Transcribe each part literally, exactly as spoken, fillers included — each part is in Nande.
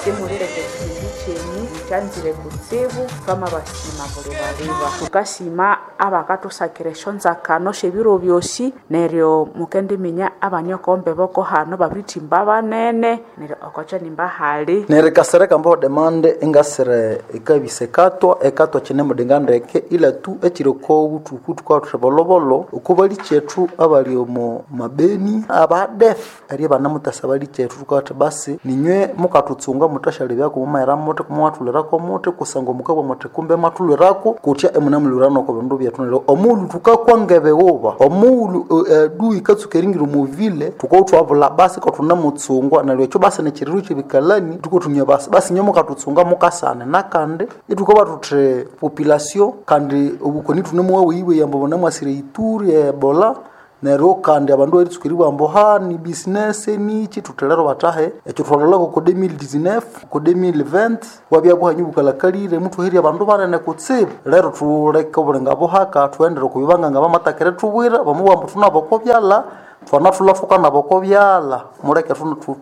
Simulireka ekihindi kyenyu kyanzire kutsibu twamabasima bulibaliba. Tukasima abakathusakira esyonzakano syebiro byosi neryo mukendiminya abaniokombe boko hano babirithimba banene neryo okokyanimba hali. Neryo kasereka mbaho demande engasire ekabisa ekatwa ekatwa kine mudinga ndeke ila tu ekiri oko buthuku thukawathutha bolobolo oko balikyethu abali omo mabeni abadef eri banamuthasa balikyethu thukawatha basi ninywe mukatutsunga muthasyalyabyaku mumahera muthi kumwathulirako muthi kusangwa mukabugha muthi kumbe mwathulirako kutya imunemulhwirana oko bindu byethu neryo omughulhu thukakwa ngebiwuba omughulhu adui ikatsuka eringira omu vile thukabya thwabulha basi kathunemutsungwa neryo ekyo basi nikyiriro kyebikalani thukothumya basi basi inywe mukatutsunga mukasane nakandi ithukabugha thuthi population kandi obukoni thunemuwaweyiweya ambu bunamwasire Ituri Ebola neryo kandi abandu eritsuka eribugha ambu ha ni business niki thuthi lero bathahe ekyo thwalholako oko deux mille dix-neuf oko deux mille vingt bwabya buhanyi bukalakalire muthuherye abandu banene kutsibu lero thuleke obulinga buhaka thughendere oko bibanganga bamathaka erithubwira bamubugha ambu thunaba oko byalha thwanathulha thukanaba oko byalha muleke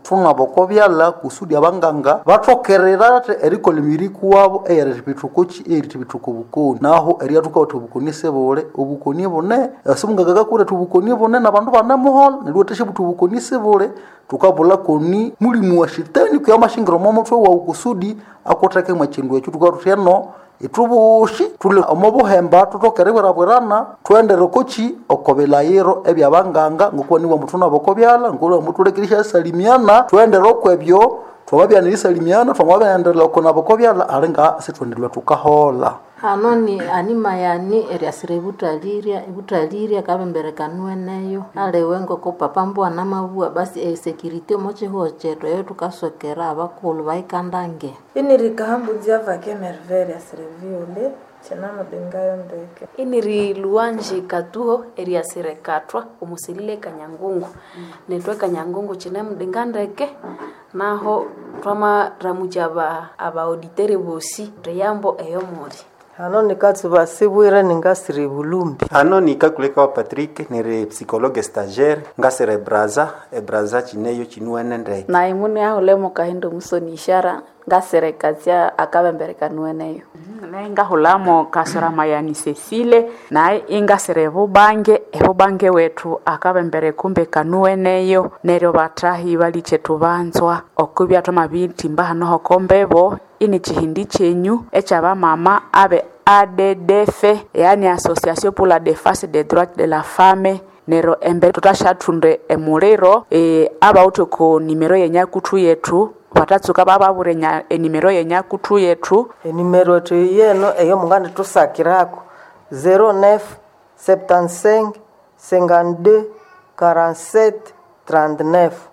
thunaba oko byalha kusudi abanganga bathokerera erikolha emibiri kuwabo eyerithibitha okoki eyerithibitha oko bukoni naho eryathuka obukoni sibuli obukoni bune esimunganga akakuretha obukoni bune nabandu banemuholha neryo iwathasyabuthi obukoni sibuli thukabulha koni mulimu wa shetani kwiha amashingira omo muthwe wawu kusudi akutheke mwekindu ekyo thukabugha thuthi eno ithubushi thuli omo buhemba thuthoke eribwirabwirana thughendere okoki oko bilayiro ebyabanganga ngokuba nibugha ambu thunaba oko byalha ngokuba ambu thuleke erisyasalimiana thughendere okwebyo thwamabya nerisalimiana thwamabyaghendera okunaba oko byalha alinga sithwendirwe thukaholha. Hano ni anima yani eriasira ebuthalirya ebuthalirya kabemberekanweneyo aliwe ngoko papa mbwa namabua basi esecurity omo kihugho kyethu eyo thukasokera abakulhu bayikandange. Inirikahambudzia vake merveille eriasira eviole kyenamudingayo ndeke. Iniri luwanji katuho eriasira ekathwa omusilile kanyangungu nethu ekanyangungu kinemudinga ndeke naho twamaramukya aba abaauditere bosi thiyambo eyomuli. Hano nikatsuba sibwire ningasira ebulumbi. Hano nikakuleka wa Patrick niri psychologue stagiaire ngasira ebraza ebraza kineyo kinuwene ndeke. Nayi mune ahulemo kahindo musoni ishara ngasira ekazya akabemberekanweneyo. Nayi ngahulamo kasora mayani Cecile nayi ingasira ebubange ebubange wethu akabembere kumbe kanuweneyo neryo bathahi balichethu banzwa okubya thwamabithimba hano hokombebo ini chihindi chenyu ekyabamama abe A D D F yani Association pour la Défense des Droits de la Femme nero embe tutashathunde emuliro e, abawuthe ko nimero yenyakuthu yethu batatsuka bababure enimero yenyakuthu yethu enimero yethu yeno eyo mungandi tusakirako zero neuf septante-cinq cinquante-deux quarante-sept trente-neuf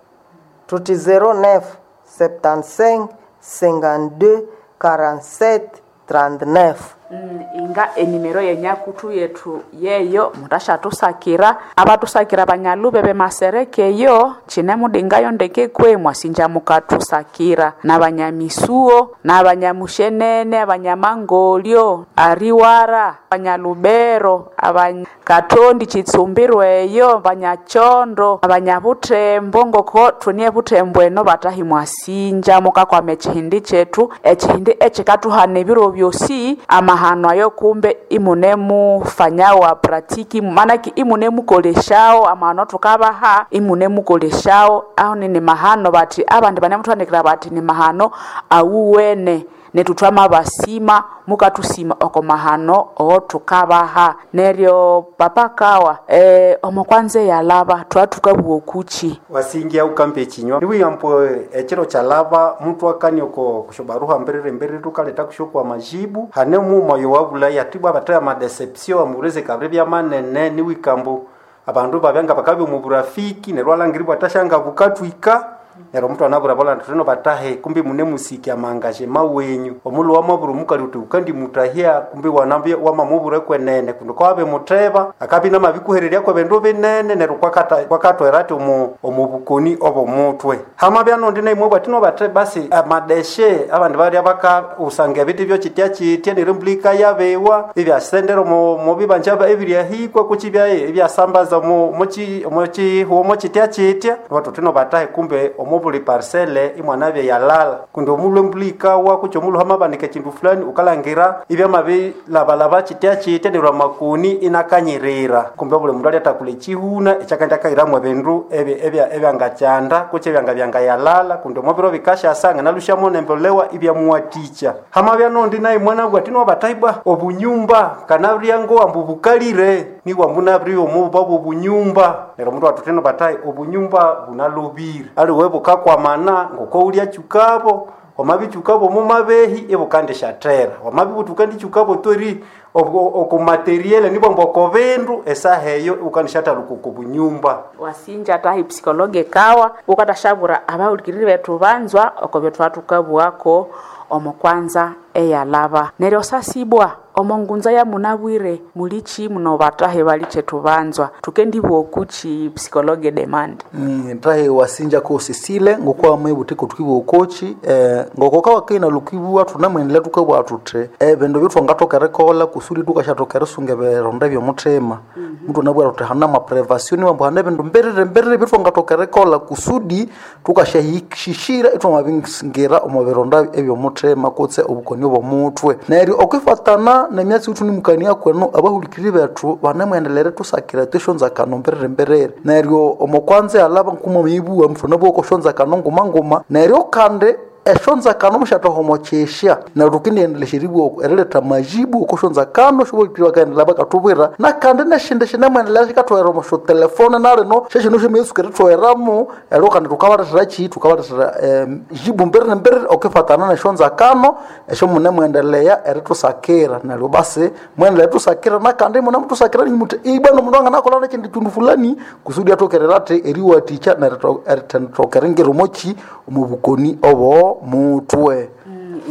tuti zero neuf septante-cinq cinquante-deux quarante-sept trente-neuf. Mm, inga enimero yenyakuthu yethu yeyo mutashatusakira abatusakira banyalube bemaserekeyo chinemudingayo ndeke kwe mwasinja mukatusakira nabanyamisuo nabanyamushenene abanyamangolyo ariwara abanyalubero abanyakatondi chitsumbirweyo abanyachondo abanyabutembo ngoko thunie butembo eno batahi mwasinja mukakwama ekihindi kyethu ekihindi ekikatuhana ebiro byosi amahano ayo kumbe imunemufanyawo pratiki manaki imunemukoleshawo amahano tukabaha imunemukoleshawo aho nini mahano bati abandi banemuthandikira bati ni mahano awuwene netu twamabasima mukatusima oko mahano oo tukabaha neryo papa kawa e, omo kwanza yalaba twatukabuwa okuchi wasingia ukambe echinywa niwiyampo echiro chalaba mtu akani oko kushobaruha mbirire mbirire tukaleta kushokwa majibu hane muma yowabula yatibwa bataya madeception amureze kabre bya manene niwikambo abandu babyanga bakabya mu burafiki neryo alangiribwa tashanga bukatwika Nero mtu anabura bola ntino batahe kumbi mune musiki amangaje mawenyu omulu wa maburu mukali uti ukandi mutahia kumbi wanambia wamamubure kwenene kundo kwabe muteba akabi na mabikuhereria kwa bendo binene nero kwakata kwakatwera ati omu omubukoni obo mutwe hama byano ndine imwe batino bate basi amadeshe abandi bali abaka usanga biti byo kitya kitya nirumblika yabewa ibyasendero mu mu bibanja ebiryahikwa kuchibya ebyasambaza mu muchi muchi huo kitya kitya watu tino batahe kumbe omo buli parcele imwanabya yalala kundi omulhu embulha ikawa kutse omulhu hamabanika ekindu fulani ukalangira ibyamabilabalaba kitya kitya neryo amakoni inakanyirira kumbe buli mundu alyathakula ekihuna ekyakandi akahiramu ebindu ebya- ebya- ebyangakyanda kutse ebyangabyangayalala kundi omubiro bikasyasa nganalusyamu nembolewa ibyamuwatikya hamabya nondi naye mwana bwati nobataibwa obunyumba kanabulyango ambu bukalire niwa munabiri omububa bw'obunyumba neryo omundu watutino batai obunyumba bunalobire aliwe bukakwamana ngoko ulyakyukabo wamabikyukabo mumabehi ibukandisyathera wamabibuthukanditsukabo tori okumateriele nibwamba oko bindu esaha eyo ibukandishathaluka oko bunyumba Wasinja tahi psikologe kawa ukatashabura abahulukiriri bethu banzwa oko byetwathukabwako omo kwanza eyalaba neryo sasibwa omo ngunza ya munabwire mulichi muno batahe balichethu banzwa tukendibwa okuchi psikologe demand Mm, tahe wasinja ko sisile ngokuwa mwebuthiko tukibwa okochi eh, ngokoka wakaina lukibwa tunamwendelea tukabwa tuthe ebindu eh, byetwangathoka erikolha kusudi tukashathoka erisunga ebironda ebyomuthima muthu anabwira tuthi hana maprevasio niwambu hana ebindu mbiriri mbiriri byetwangathoka erikolha kusudi tukashahishishira ithwamabingira omu bironda ebyomuthima kutse obukoni obwomuthwe neryo okwifatana nemyatsi yithu nimukania kwenu abahulikiriri bethu banemwendelera tusakira tweshonzakano mbiriri mbiriri neryo omo kwanza yalaba nkuma mwibuwa muthu anabugha okoshonzakano nguma nguma neryo kandi eshonzakano mushathohomo kyesya neryo tukindiendelesya eribwa eriletha majibu okoshonzakano shobolikiri bakaendelea bakatubwira nakandi neshindi shinemwendelea shikathoghera omo syotelefone nalino sheshino shemiyetsuka erithogheramu eryo kandi thukabalethera ki thukabalethera em, jibu mbiriri mbiriri okifatana neshonzakano esyo munemwendelea eritusakira neryo basi mwendelea eritusakira nakandi munemutusakira ninyu muthi ibwanu omundu anganakolha nekyindi kyindu fulani kusudi athokerera athi eriwathikya nerithendithoka eringira omoki omu bukoni obo mutwe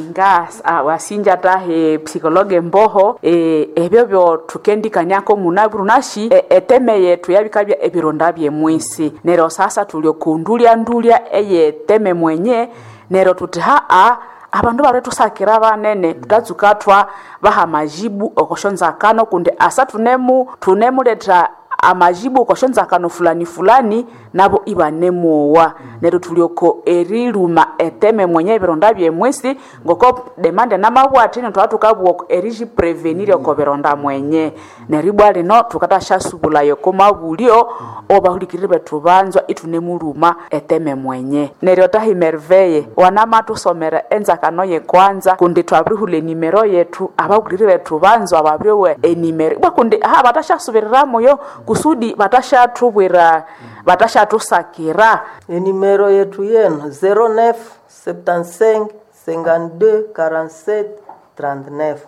nga ah, wasinja tahe psikologe mboho e, ebyo byo tukendikaniako munabwiru nashi e, eteme yetu yabikabya ebironda byemwisi neryo sasa tuli okundulya-ndulya eyeteme mwenye neryo tuthi haa abandu balwetusakira banene tutatsuka thwa baha majibu okoshonzakano kundi asa tunemu tunemuletha amajibu okoshonzakano fulani fulani nabo ibanemuowa neryo tulioko eriluma eteme mwenye ebironda byemwisi ngoko demande namabwati nitwatukabwa erijiprevenir oko bironda mwenye neribwa lino tukatashyasubulayo komabulyo obahulikirire bethu banzwa itunemuluma eteme mwenye neryo tahi merveye wanamatusomera enzakano yekwanza kundi twabirihula enimero yetu abahulikirire bethu banzwa babiriowa enimero ibwa kundi aha batashyasubiriramuyo kusudi batashathubwira batashathusakira Enimero yetu yenu zero neuf septante-cinq cinquante-deux quarante-sept trente-neuf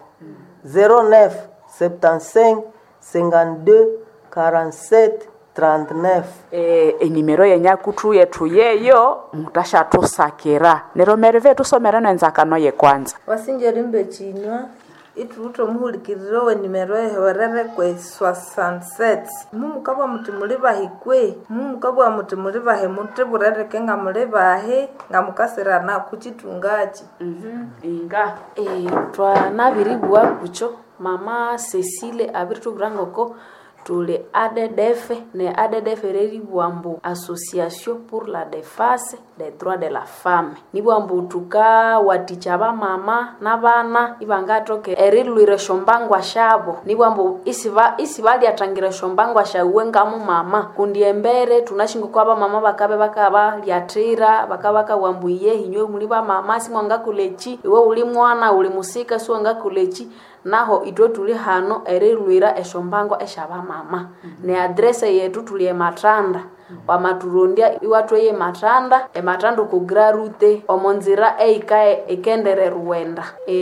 zero neuf septante-cinq cinquante-deux quarante-sept trente-neuf e, enimero yenyakuthu yethu yeyo mutashathusakira neryo mereve tusomere nenzakano yekwanza wasinja rimbe chinywa ithuwithe omuhulikiriri owenimero eherere kwe soixante-sept mumukabugha muthi muli bahi kwe mumukabugha muthi muli bahi muthibuleleke nga muli bahi nga mukasirana kuchithungaki inga e, twanabiribugha kukyo mama Cecile abiritubwira ngoko tuli A D D F ne A D D F reribugha mbu Association pour la Défense des Droits de la Femme nibugha mbu thukawathikya abamama n'abana ibangathoka erilwira esyombangwa syabo nibugha mbu isiba isibalyathangira esyombangwa syawe ngamumama kundi embere thunasi ngoko abamama bakabe bakabalyathira bakabakabugha mbu iye inywe muli bamama simwangakolha eki iwe uli mwana uli musika siwangakolha eki naho ithwe thuli hano erilwira esyombangwa esyabamama ne adrese yethu thuli emathanda wamathurondya iwathweya emathanda emathanda oku grarute omo nzira eyika ikendere ruwenda e,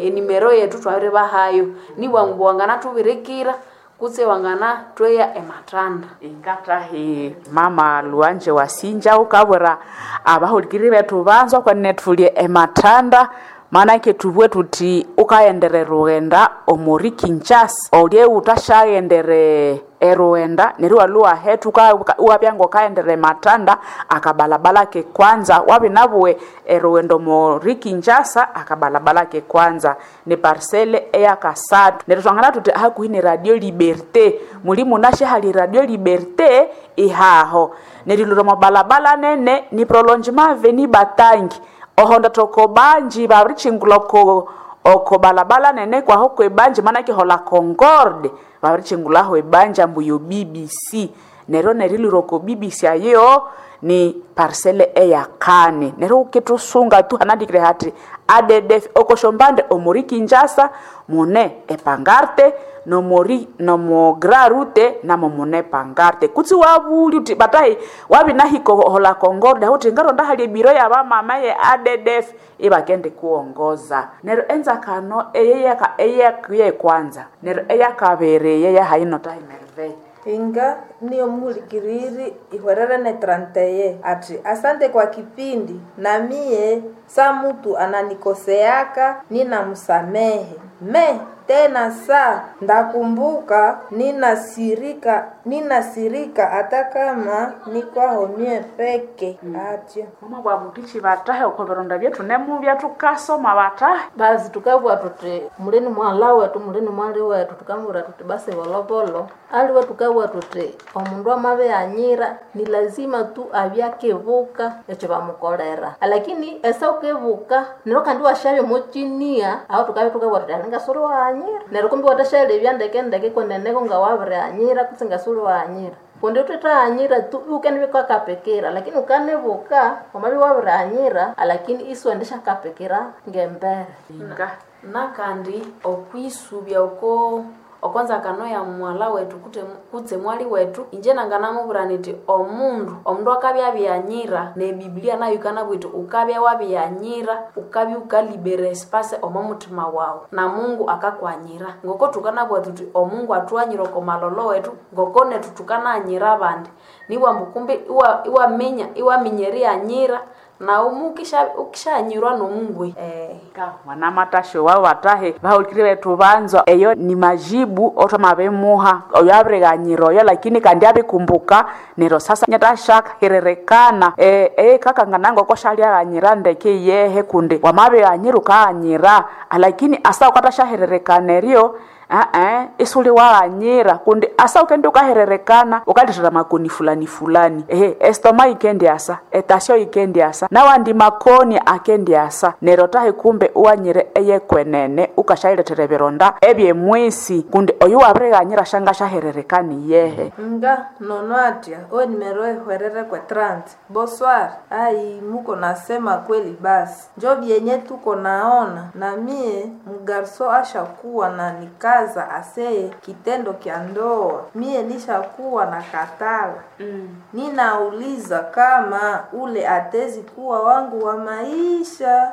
enimero yethu twabiribahayo nibwangu wanganathubirikira kutse wanganathweya emathanda ingatahi mama luanje wasinja ukabwira abahulikiriri bethu banzwa kwenene thuli emathanda maanake tubwe tuthi ukaghendere rughenda omuri Kinshasa olye uthashaghendere Eruwenda neryo iwalwa iwahethuka iwabya ng'okaghende matanda akabalabala ke kwanza wabinabuwe eruwenda omori Kinshasa akabalabala ke kwanza ni parcele eyakasathu neryo twangana thuthi hakuhi ne Radio Liberté muli munashe hali Radio Liberté ihaho neryo liro omo balabala nene ni prolongement avenue Batangi ohonda toko banji babirichingula oko oko balabala nene kwaho kwebanji manake hola Concorde babirichingulaho ebanja ambu yo B B C neryo neriliro oko B B C ayo ni parcele eyakane neryo ukitusunga tu hanandikire hati A D D F okoshombande omori Kinshasa mune epangarte nomori nomo grand route namo mune pangarte kutsi wabuli uti batahi wabinahiko hola Concorde uti ngaronda hali ebiro ya bamama ye A D D F ibakende kuongoza neryo enzakano eyeyaka eyakuye kwanza neryo eyakabere yeyahaino tahi Merveille Inga niyo muhulikiriri ihwerere ne tranteye ati asante kwa kipindi na mie sa mutu ananikoseaka ninamsamehe me tena sa ndakumbuka ninasirika ninasirika hata kama nikwaho mie peke atyo mama bwa mutichi batahe oko bironda byetu nemubya tukasoma batahe basi tukabwa tuti mulini mwala wetu mulini mwali wetu tukamwira tuti basi volovolo aliwe tukabwa tuti omundu amabe anyira ni lazima tu abyakevuka ekyo bamukolera lakini esa ukevuka nero kandi washabya mochinia aho tukabya tukabwa tuti alinga suri waanyira nero kumbi watashalebya ndeke ndeke kweneneko nga wabirianyira kutse nga suri waanyira kundi utetaanyira tu ukenibikakapekera lakini ukanevuka wamabi wabirianyira lakini isiwendesha kapekera ngembere inga nakandi okwisubya oko okwanza kano ya mwala wetu kute, kutse mwali wetu inje nanganamubwira niti omundu omundu akabya abyanyira ne biblia nayo ikanabwira iti ukabya wabyanyira ukabya ukalibera espace omo mutima wawu na Mungu akakwanyira ngoko tukanabwira tuti omungu atwanyira oko malolo wetu ngoko netu tukananyira abandi niwambu kumbe iwa- iwaminya iwaminya eriyanyira na umu ukisha- ukishanyirwa nomungu eh. Ka wana matasho wao batahe bahulikire bethu banzwa eyo ni majibu otwamabimuha oyo abirighanyira oyo lakini kandi abikumbuka neryo sasa nyatashaka hirerekana e, e kakangananga okoshalyaghanyira ndeke yehe kundi wamabighanyira ukaghanyira lakini asa ukatashahirerekana eryo a-e isuli waghanyira kundi asa ukende ukahererekana ukalithira makoni fulani fulani ehe estoma ikendi asa etasio ikendi asa nawandi makoni akendi asa neryo tahi kumbe uwanyire eyekwenene ukashayilethera ebironda ebyemwisi kundi oyu wabirighanyira shanga shahererekani yehe Nga nono atya owe nimero ehwerere kwe trant bonsoir ai muko nasema kweli basi njo vyenye tuko naona na mie mgarso ashakuwa na nikaza aseye kitendo kya ndoa mie nishakuwa na katala mm. Ninauliza kama ule atezi kuwa wangu wa maisha.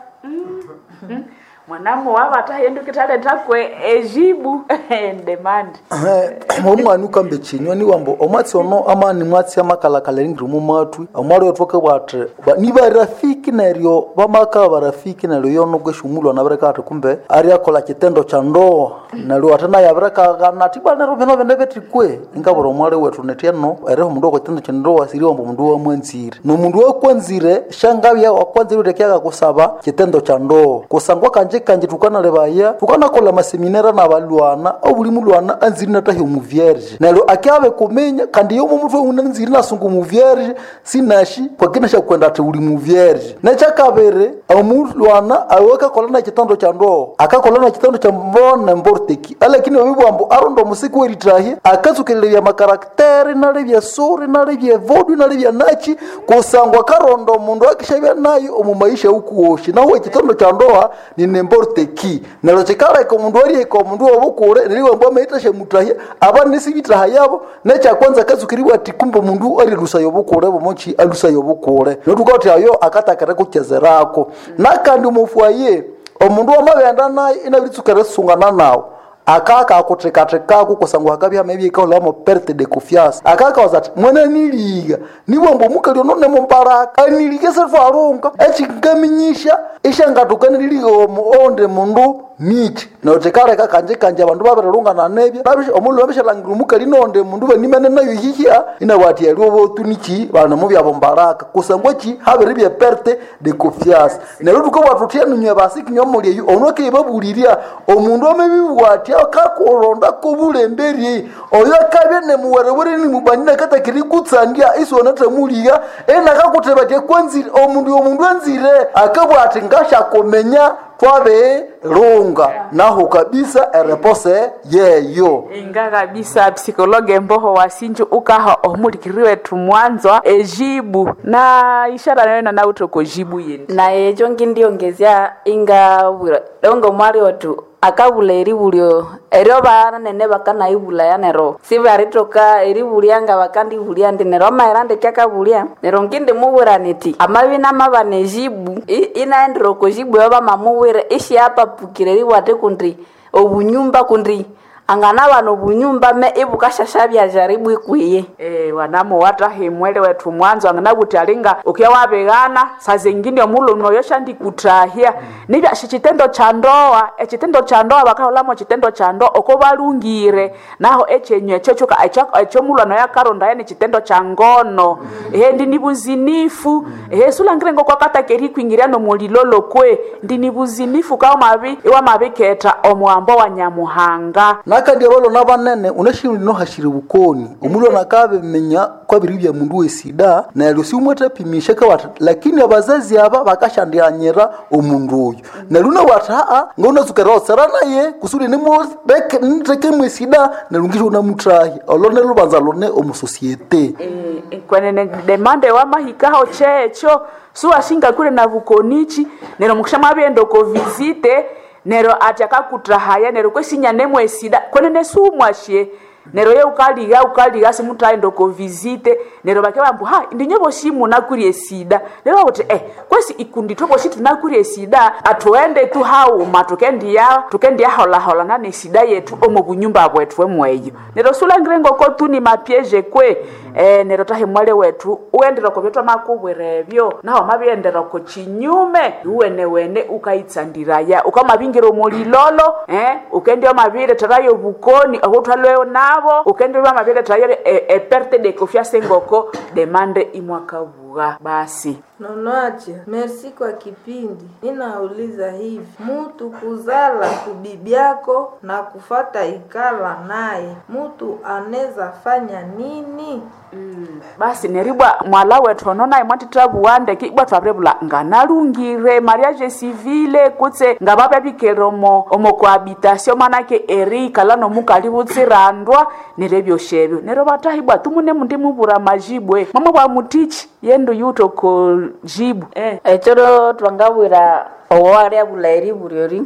mwanamu wabatahe ndukithaletha ejibu demand omwana ukambe chinywa niwambo omwatsi ono amani mwatsi amakalakala ringiri mumatwi omwali wetu akabwati ni barafiki neryo bamaka barafiki neryo yono kweshumulwa nabireka ati kumbe ariakola kitendo cha ndoa neryo ate naye abirekaghana ati bwana neryo bino bine bitikwe ingabura omwali wetu netieno eriho omundu oko kitendo cha ndoa siri wambo omundu wamwanzire nomundu wakwanzire shangabya wakwanzire utekyaka kusaba kitendo cha ndoa kusangwa kanje kanje tukanalebaya tukanakola maseminera nabalwana obuli mulwana anziri natahi omuvierge neryo akyabe kumenya kandi yomo mutwe unanziri nasunga omuvierge sinashi kwakina shakwenda ati uli muvierge nekyakabiri omulwana awe akakola na kitando cha ndoa akakola na kitando cha mbona mborteki alakini wabibwambo aronda omusiki weritahi akatsukelelebya makarakteri nalebya suri nalebya vodu nalebya nachi kusangwa karonda omundu akishabya nayo omu maisha ukuwoshi naho ekitondo cha ndoa ni nemborteki neryo kikaleka omundu aryeka omundu wobukure neriwambwa amayitasha mutahya aba nisibitaha yabo nekyakwanza katsukiribwa ati kumbe omundu arilusayo obukure bomochi alusayo obukure notuka ayo akatakere kukyezerako nakandi omufwaye omundu wamabenda naye inabiritsukera sungana nawo Akaka akuthekathekako kusangwa hakabya hamabya perte de confiance. Akaka wazati mwana niliga niwambo mukali ono nemumbaraka aniliga setwarunga echingaminyisha ishangatuka niliga omu onde mundu nichi notekareka kanje kanje abandu babirilungana nebya omulhu babishalangira omukali nonde mundu banimene nayo hihia inawati aliwo botu nichi bana mubyabo mbaraka kusangwa chi habiri bya perte de confiance. Neryo tukabwa tutya nunywe basi kinywa muli eyo ono kebabuliria omundu amebibwati akakulonda kubulemberi oyo akabya nemuwerewere nimubanyina katakiri kutsandia isona tamuliga enakakutebatia kwanzire omundu omundu anzire akabwati ngashakomenya twabe runga naho kabisa erepose yeyo. Inga kabisa psikologe mboho wasinju ukaha omulikiri wetu mwanzwa ejibu na ishara nayo na utoko jibu yindi na ejo ngindiongezya ingabwira dongo mwali otu akabula eribulyo eryo banene bakanaibulaya nero sibaritoka eribulya nga bakandibulya ndi nero amaira ndeke akabulya nero ngindimubwira niti amabi namabana ejibu inaendera oko jibu eyo bamamubwira ishiapapukire eribwate kundi obunyumba kundi anganabana obunyumba me ibukashasha jaribu ikwiye. Eh, wanamo watahimwele wetu mwanzo anganakuti alinga ukiya wabegana saa zingine omulume oyo shandikutahia mm. Nibya shikitendo cha ndoa ekitendo cha ndoa bakaholamo chitendo cha ndoa oko balungire naho echenyu echo chuka echo mulano yakaronda yani chitendo cha ngono mm. Ehe ndi nibuzinifu mm. Ehe sulangire ngoko akatakeri kwingiria no mulilolo kwe ndi nibuzinifu kao mabi iwa mabiketa omwambo wa Nyamuhanga. Nakandi abalo nabanene unashiri no hashiri bukoni omulwa nakabe menya kwabiri bya mundu wesida neryo siumwetapimisha kawata lakini abazazi aba bakashandianyira omundu oyo neryo unawata a ngounazukera osera naye kusudi nimureke niteke mwesida neryo ngisho unamutahi olone lubanza lone omusosiete. E, kwenene demande wamahikaho checho suwashinga kule na bukonichi neryo mukisha mwabyenda ko visite nero ati akakutahaya nero kwesinya nemwesida kwenene sumwashe nero ye ukaliga ukaliga simutaenda ko visite nero bake bambu ha ndinye boshi munakurie sida nero bakuti eh kwesi ikundi toboshi tunakurie sida atuende tu hauma tukendiya tukendiya hola hola nane sida yetu omo bunyumba bwetu emweyo nero sulangire ngoko tu ni mapieje kwe eh nero tahe mwale wetu uendera ko byetwa makubwere naho mabiendera ko chinyume uwene wene ukaitsandiraya ukamabingira omulilolo eh ukendia mabire tarayo bukoni obutwalweo nabo ukendia mabire tarayo e, e perte de confiance ngoko demande imwakabuga basi. Nonoache, merci kwa kipindi. Ninauliza hivi, mutu kuzala kubibyako na kufata ikala naye, mutu aneza fanya nini? Mm. Basi neribwa mwala wetu onona imwatitabuwande kibwa twabirebula nganalungire mariage civile kutse ngababya omo cohabitation manake eri ikala nomukali butsirandwa nerebyoshebyo nero batahibwa tumune mundi mubura majibwe mwamwe bwa mutichi yendo yuto ko jibu eh. Echoro twangabwira owaryabula eribulyo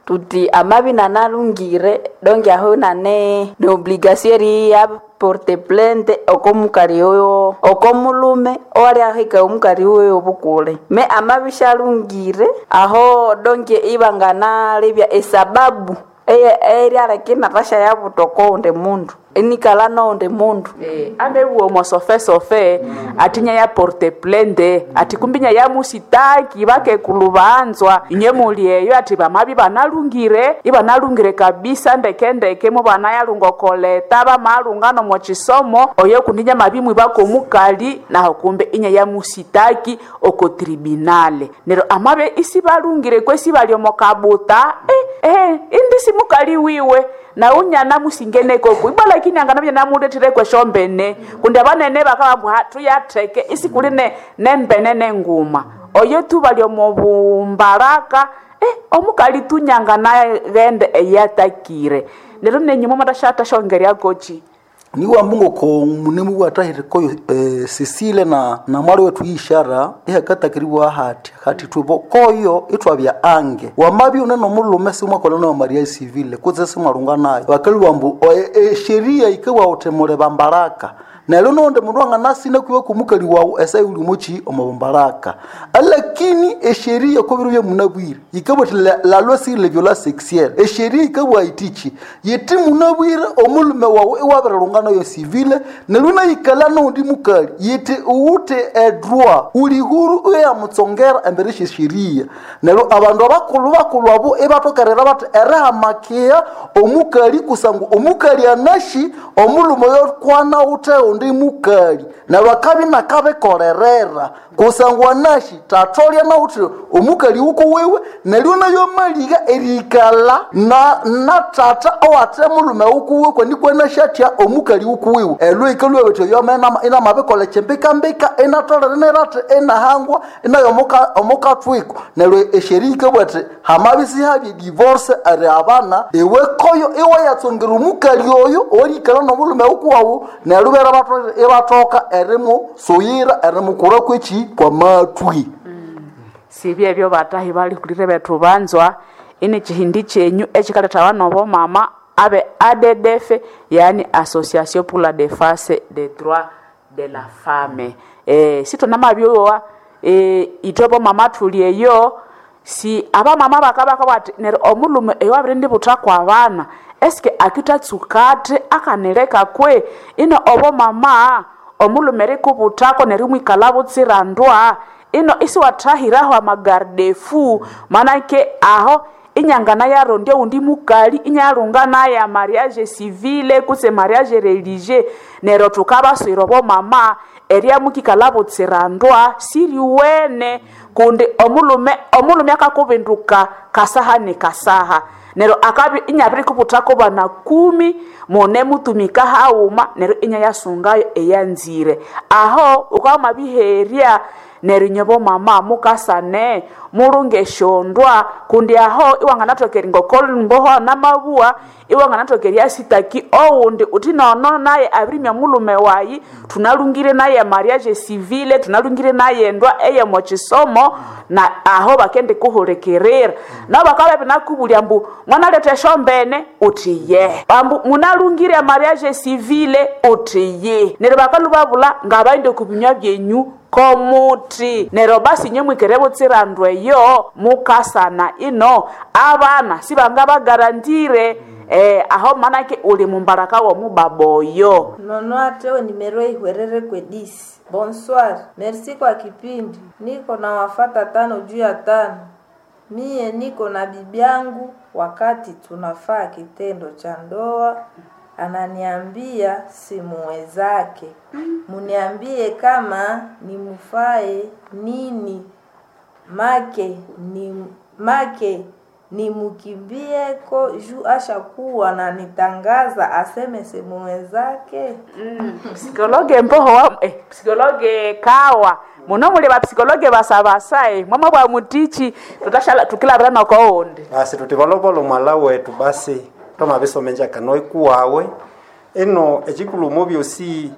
tuti amabi nanalungire donge aho nane ne obligation eri ya porte plainte oko mukali oyo oko mulume owaryahika omukali oyo obukule me amabi shalungire aho donge ibanganalebya esababu eryaleka natasha yabutoko onde mundu enikala nonde mundu eh, amebuwa omosofesofe mm. atinya ya porte plainte ati kumbinya ya musitaki bakekulubanzwa inye muli eyo ati bamabi banalungire ibanalungire kabisa ndekendeke mu banayalunga okoleta bamalunga nomochisomo oyo kundinya mabimwi bakomukali naho kumbe inya ya musitaki oko tribunale nero amabe isi balungire kwesi bali omokabuta eh, eh, indi simukali wiwe na unyana musingeneko ibwa lakini anganavya namuletire kweshombene kundi abanene bakabambwa tuyatheke isi kuli ne nembene nenguma oyo tu bali omubumbaraka eh, omukali tunyanga naghende eyatakire lero nenyuma matashatashongerya kochi niwamba ngoko munemu bwatahirikoyo eh, Cecile na na mwali wetu ishara ihakatakiriwa hati hati tubo koyo itwabya ange wamabi uneno mulume simwakola no Maria civile kutse simwalunga nayo bakali wambu e, e, sheria ikewa utemule bambaraka Neryo nonde mundu anganasina kwiwe kumukali wawu esa yuli mochi omubumbaraka. Alakini esheria kobiro bya munabwire yikabwa ati la, la loi sur les violences sexuelles esheria ikabwa itichi yiti munabwire omulume wawu iwabirilungana yo civile neryo nayikala nondi mukali yiti uwute edroit uli huru uyamutsongera embere shesheria. Neryo abandu abakulhu bakulhu abo ibatokerera bati erihamakia omukali kusangu omukali anashi omulume yokwana ute undi mukali neryo akabi nakabikorerera kusangu anashi tatolya nauthi omukali wuko wiwe neryo nayo maliga erikala na, na tata owate mulume wukuwe kwanikwa atya omukali wukuwiwe elwo ikalwa bethu yome inamabikolha kyembikambika inatolere nerati inahangwa inayo omukathwiko. Neryo esheria ikabwa ati hamabisi habye divorce eri abana iwe koyo iwe yatsongera omukali oyo owerikala nomulume wukuwawu neryo bera ibathoka erimusuyira erimukura kweki kwamathwi. Sibye ebyo batahi balihulire bethu banzwa ini chihindi chenyu echikalethawa nobo mama abe A D D F, yani Association pour la Défense des Droits de la Femme. Eh, sitonamabyowa eh, itobo mama thuli eyo si abamama bakabaka bati neryo omulume eyo abirindi kwa abana eske akitatsukate akanileka kwe ino obo mama omulume rikubuthako neryo mwikala butsirandwa ino isiwathahiraho amagardefu manake aho inyangana yarondya undi mukali inyalunga naya mariage civile kutse mariage religieux. Neryo thukabaswira obo mama erya mukikala butsirandwa siriwene kundi omulume omulume akakubinduka kasaha ni kasaha neryo akabi inyabirikubuthako bana kumi mune mutumika hauma neryo inyayasungayo eyanzire aho ukamabiherya neryo nyobo mama mukasane mulunge eshondwa kundi aho iwanganathoka ngokolumboho namabuwa iwanganathoka eryasitaki owundi uthi nono naye abirimya mulume wayi tunalungire naye mariage civile tunalungire naye endwa eyemo kisomo na aho bakendi kuhulikirira nabo bakabya binakubulya mbu mwanaletha esyombene uthi ye ambu munalungire mariage civile uthi ye neryo bakalubabula ngabaghende okubinywa byenyu komuthi neryo basi inye mwikere butsirandwa eyo mukasana ino abana sibangabagarantire eh, aho manake uli mumbaraka womubaba oyo. Nono atewe nimero ihwerere kwedisi. Bonsoir, merci kwa kipindi. Niko na wafata tano juu ya tano. Mie niko na bibi yangu wakati tunafaa kitendo cha ndoa ananiambia simuwezake. Muniambie kama nimufae nini make ni make nimukimbieko juu ashakuwa na nitangaza aseme simuwezake. Mm, psikologe mboho wa, eh, psikologe kawa muno muli bapsikologe basabasae mwama bwa mutichi tutashala tukilabira nokoundi basi tuti valovolo mwala wetu basi tomabisomenja kano ikuwawe ino echikulumo byosi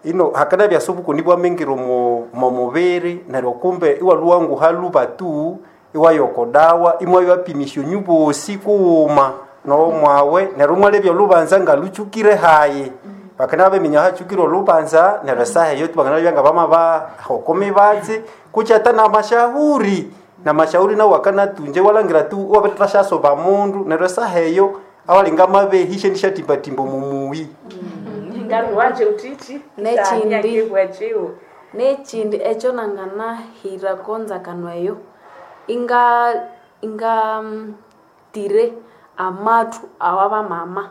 ino hakana byasubukuni bwamingiro mu mu mubiri neryo kumbe iwaluwanguha luba tu iwayokodawa imwe iwapimisha nyubosi kuuma no mwawe neryo mwalebya lubanza nga luchukire hayi bakana beminya hachukire olubanza neryo saha eyo bakana byanga bama ba hokome batsi kuchata na mashahuri na mashauri nawo wakanatunje walangira tu wabetashasoba mundu neryo saha eyo awalinga mabehishe ndishatimbatimbo mumuyi ngaruwanje utichi Nechindi. Nechindi ekyo nanganahira konzakano eyo inga inga mm, tire amathu awabamama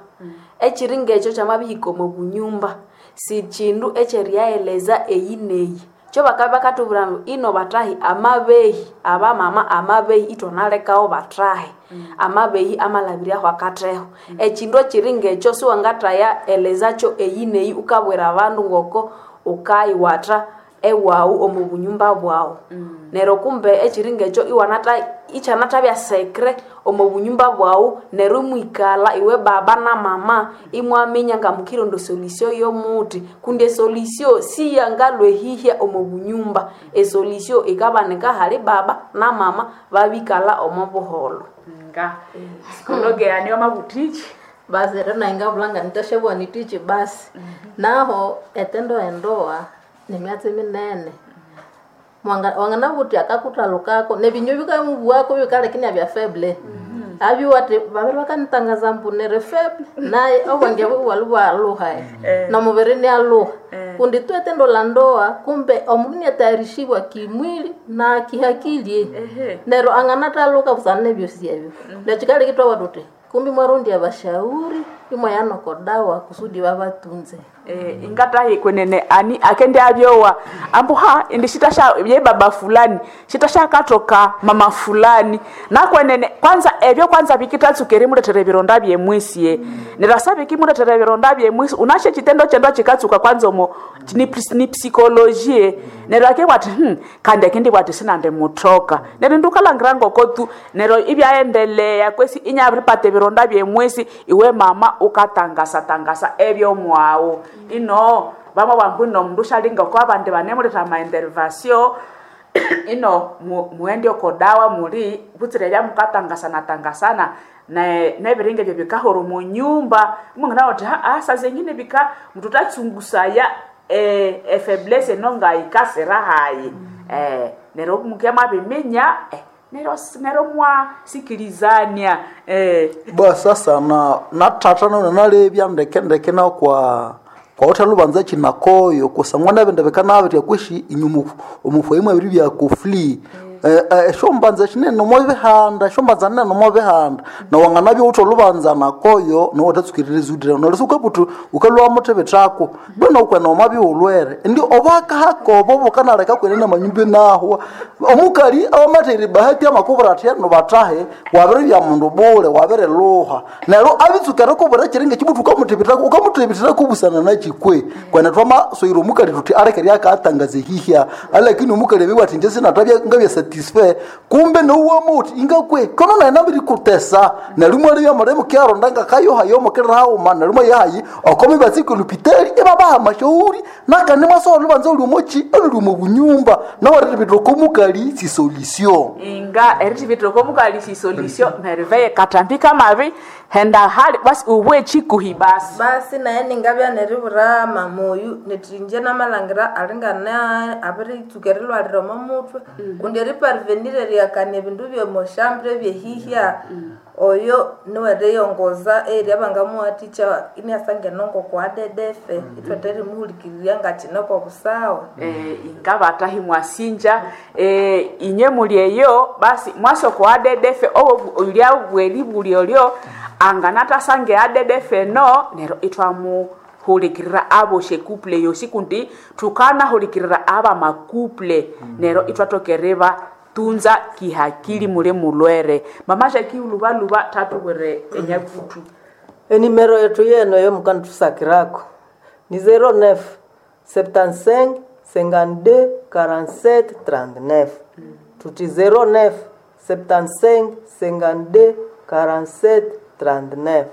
ekiri ngekyo kyamabihika omu bunyumba si kindu ekyeriyaeleza eyi neyi kyo bakabya bakatubwira ambu ino batahi amabehi abamama amabehi ithwanalekawo batahi amabehi amalabiryaho akatheho ekindu ekiri ngekyo siwangathaya elezakyo eyi neyi ukabwira abandu ngoko ukayiwatha ewawu omu bunyumba bwawu neryo kumbe ekiri ngekyo iwanatha ikyanathabya sekre omu bunyumba bwawu neryo imwikalha iwe baba na mama imwaminya ngamukironda esolution yomuthi kundi esolution siyangalwehihya omu bunyumba esolution ikabanika hali baba na mama babikalha omu buholho nga psikologe yani wamabutichi Basi rero naye ngabulanga nitashabwa nitichi basi. Naho etendo endoa ni myatsi minene. Mwanga wanganavuti akakutalukako nebinywa bikamubuwako bikalekini bya feble. Abi wati babiri bakanitangaza mbu nere feble naye obwange bwali bwaluha na mubiri ni aluha kundi tu etendo la ndoa kumbe omundu niatayarishibwa kimwili na kihakili nero anganataluka busana nebyosi ebyo nechikalekitwa tuti kumbi mwarundi abashauri imwayanokodawa kusudi babatunze. Eh, ingatahi kwenene ani akende abyowa ambu ha indi shitasha ye baba fulani shitasha katoka mama fulani nakwenene kwanza ebyo kwanza bikitatsuka erimuletera ebironda byemwisie mm. nerasa bikimuletera ebironda byemwisi unashe chitendo chendo chikatsuka kwanza omo ni, ni psikolojie mm. nero ake bwati hmm, kandi akindi bwati sinande mutoka nero ndukalangira ngoko tu nero ibyaendelea kwesi inyabiripata ebironda byemwisi iwe mama ukatangasa tangasa ebyomwawo ino vamwe vangu ino mndu shalinga kwa vandi vanemuleta maintervasio ino mu, muende okodawa muli vutsire vya mukatangasana tangasana ne neviringe vyo vikahoro munyumba mungina kuti haa sa zengine vika mndu tatsungusaya e, e faiblesse nonga ikasira hayi mm. eh, nero mukia maviminya eh, nero nero mwasikilizania eh. Bwa sasa na nathatha nona nalebya ndeke ndeke na kwa kwa uthalubanza chinakoyo kusangwa nabende bekanabetya kwishi inyuma omufo imwe ebiri bya kofli eh eh, shombanza shinene nomo bihanda shombanza nene nomo bihanda na wanganabyo utolubanza nakoyo no watatsukirira udira no lisuka putu ukalwa mutebe tako bwena ukwena omabi ulwere ndi obaka hakobo bukanaleka kwenene manyumbe naho omukali abamateri bahati amakubura ati no batahe wabere bya mundu bule wabere luha nero abitsukira kubura chiringe chibutu ukamutebetako ukamutebetera kubusana na chikwe kwena twama soiro omukali tuti arekeri akatangaze hihya alakini omukali abiwa ati nje sinatabya ngabya satisfait kumbe nouwamuti ingakwe kono naye nabiri kutesa nalimwe alibya mulemu kyaronda ngakayoha yomukirira hauma nalimwe yahayi okomi batsike lupitali ibabaha mashauri nakandi mwasowa lubanza uli omochi oluli omu bunyumba nawarire komukali si solution inga erithivitire mukali solution merveille katambika mavi henda hali basi ubwe chikuhi basi basi naye ningabya neribura mamoyu nithi inje namalangira alingana abiritsuka erilwalira omo mutwe kundi eriparvenir eriyakania ebindu byomoshambire ebyehihya oyo niweriyongoza eri abangamuwathikya iniasangene ngokwadedefe ithwatha erimuhulikirirya ngakine kobusawa eh, inga batahi mwasinja eh, inye muli eyo basi mwasoko adedefe obo ulya bweli buli olyo anganatasange adedefe no nero itwamuhulikirira abo shekuple yosi kundi tukanahulikirira aba makuple mm. nero itwatokereva tunza kihakili mule mulwere mama shaki lubaluba tatuwere enyakutu Enimero yetu yeno yomukantusakirako ni zero neuf septante-cinq cinquante-deux quarante-sept trente-neuf tuti zero neuf septante-cinq cinquante-deux quarante-sept trente-neuf